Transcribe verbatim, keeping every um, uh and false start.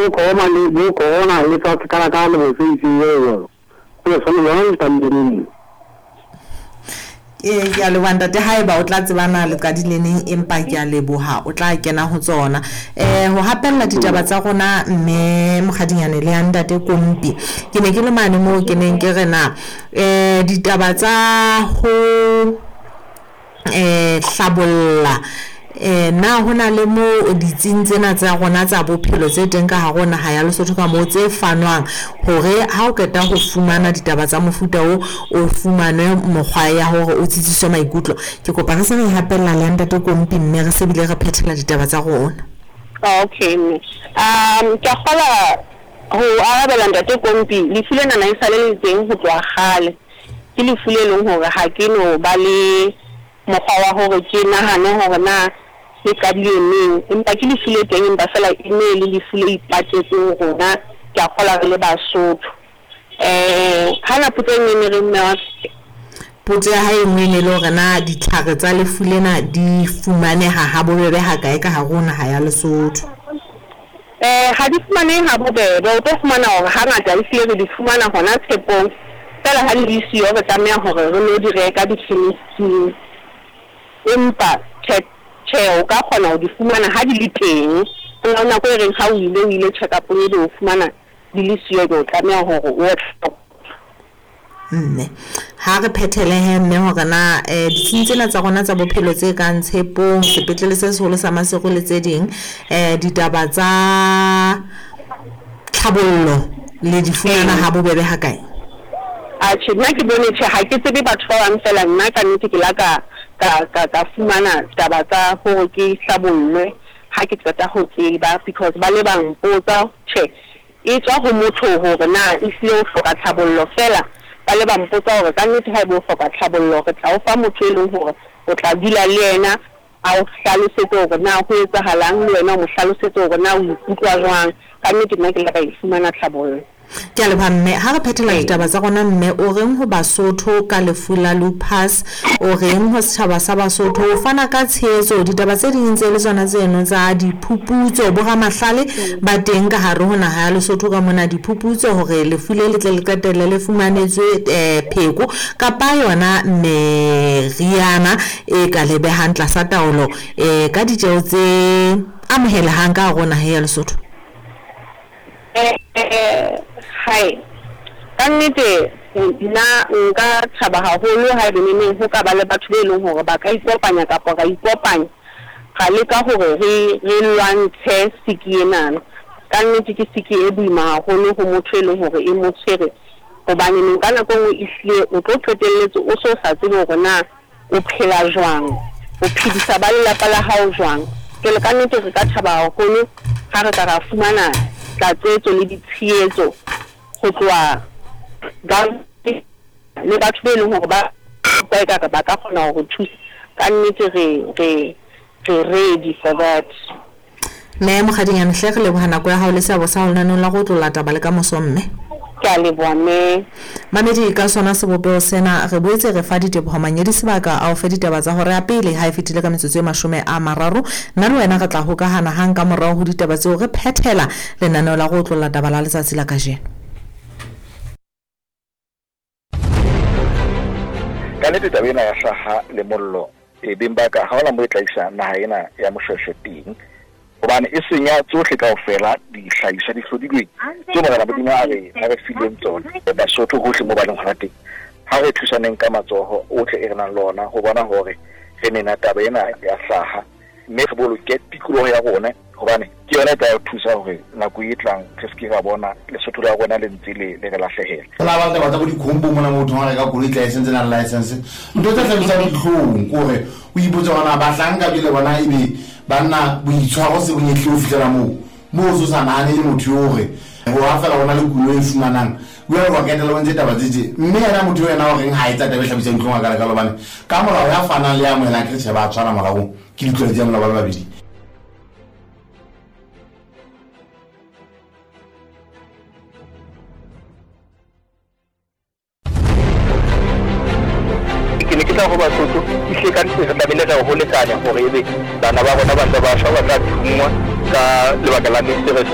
bo corona le bo corona le tsa kala ka le bo se itse eo ke sone yona le tandeng. Ee, ke a leboha ntate, haeba o tla tsebana le qadile neng, empa ke a leboha o tla kena ho tsona. Eh ho hapella ditaba tsa rona mme Mokgadinyane le ya ntate Kompi, ke ne ke le mane moo ke neng ke re na eh ditaba tsa ho eh hlabolla eh na hona le mo ditsing tsena tsa rona tsa bophelo tse teng ka hare ho naha ya Lesotho ka moo tse fanwang hore ha o qeta ho fumana ditaba tsa mofuta o o fumane mokgwa ya hore o tsitsiswe maikutlo. Ke kopa re se re hapella le ntate Kompi mme re se bile re phethela ditaba tsa rona. Okay mme, um ke a kgola ho arabela ntate Kompi, lefu lena na e sale le teng ho tloha kgale. Ke lefu le leng hore ha ke no ba le mokgwa wa hore ke nahane hore na le qadile neng, empa ke lefu le teng, empa fela e ne le lefu le ipatetseng rona, ke a kgola re le Basotho. Eh hana potso e nngwe e ne re mme wa Potso ya hae e nngwe e ne le hore na ditlhare tsa lefu lena di fumaneha ha bobebe ha kae ka hare ho naha ya Lesotho. Eh ha di fumanehe ha bobebe, o tlo fumana hore hangata ehlile re di fumana hona Tshepong, fela ha di le siyo re tlameha hore re lo di reka di-chemist-ing, empa tjhe tjhe o ka kgona ho di fumana ha di le teng. Ho na le nako e reng ha o ile o ile check-up-ong ebe o fumana di le siyo, ebe o tlameha hore o Mme ha re phethele he mme hore na eh ditsing tsena tsa rona tsa bophelo tse kang Tshepong, sepetlele se seholo sa Maseru le tse ding, eh ditaba tsa tlhabollo le di fumana ha bobebe ha kae? Atjhe, nna ke bone tjhe, ha ke tsebe batho ba bang fela, nna ka nnete ke la ka ka ka ka fumana taba tsa hore ke hlabollwe ha ke qeta ho tseba, because ba le ba mpotsa tjhe e tswa ho motho hore na ehlile o hloka tlhabollo, fela ba le ba mpotsa hore ka nnete haeba o hloka tlhabollo re tla o fa motho e leng hore o tla dula le yena a o hlalosetse hore na ho etsahalang, le wena o mo hlalosetse hore na o ikutlwa jwang. Ka nnete nna ke la ka e fumana tlhabollo. Ke a leboha mme. Ha re phethela ditaba tsa rona mme, o reng ho Basotho ka lefu la lupus, o reng ho setjhaba sa Basotho, o fana ka tshehetso, ditaba tse ding tse le tsona tseno tsa diphuputso, boramahlale ba teng ka hare ho naha ya Lesotho ka mona diphuputso hore lefu le le tle le qetelle le fumanetswe eh pheko kapa yona meriana e ka lebehang tlasa taolo eh ka ditjeho tse amohelehang ka hare ho naha ya Lesotho. Eh hai ka nnete nna nka thaba haholo haebe neneng ho ka ba le batho be leng hore ba ka ikopanya kapa ra ikopanya ra leka hore re re lwantshe siki enana. Ka nnete ke siki e boima haholo ho motho e leng hore e mo tshwere, hobane neng ka nako e nngwe ehlile o tlo qetelletse o so sa tsebe hore na o phela jwang, o phedisa ba lelapa la hao jwang. Jwale ka nnete re ka thaba haholo ha re ka ra fumana tlatsetso le ditshehetso ho tloha le batho be leng hore ba ba ekare ba ka kgona ho re thusa. Ka nnete re re re ready for that. Mme Mokgadinyane hle re leboha nako ya hao le seabo sa hao lenaneong la go otlolla taba le ka moso mme. Ke a leboha mme. Mamedi, ka sona sebopeho sena re boetse re fa diteboho Manyedi sebaka a o fe ditaba tsa hore ya pele ha e fetile ka metsotso e mashome a mararo. Nna le wena re tla hokahana hang ka morao ho ditaba tseo re phethela lenaneo la go otlolla taba la letsatsi la kajeno. Ka nnete taba ena ya hlaha le mollo e beng ba ka ha hona moo e tla isa naha ena ya Moshweshwe teng, hobane e senya tsohle kaofela dihlahiswa di hlodilweng tse Morena Modimo a re a re fileng tsona. Basotho hohle moo ba leng hona teng, ha re thusaneng ka matsoho ohle e re nang le ona ho bona hore re nena taba ena ya hlaha, mme re boloke tikoloho ya rona, hobane ke yona e tla re thusa hore nako e tlang re se ke ra bona Lesotho la rona le ntse le le re lahlehela. Ho na ba taba tsa bo dikhombo mona motho ha reka koloi tla e sentse nang license, ntho tse hlabisang dihlong ke hore o ipotse hore na bahlanka pele bona ebe banna boitshwaro se bo nyehlile ho fihlela moo moo o so sa nahane le motho eo hore ho ha fela hona le kuno e fumanang o ya wa ketela o ntse taba tse tje, mme yena motho ena o reng ha etsa taba e hlabisang dihlong a ka lekalo, hobane ka molao ya fanang le ya amohelang ke tjhe ba tshwana molaong, ke ditlolo tsa molao ba le babedi. Ke ne ke tla ho Basotho ehlile ka nnete re tlamehile re ho lekanya hore ebe bana ba rona ba ntse ba shwa ba tla thungwa ka lebaka la meserefe.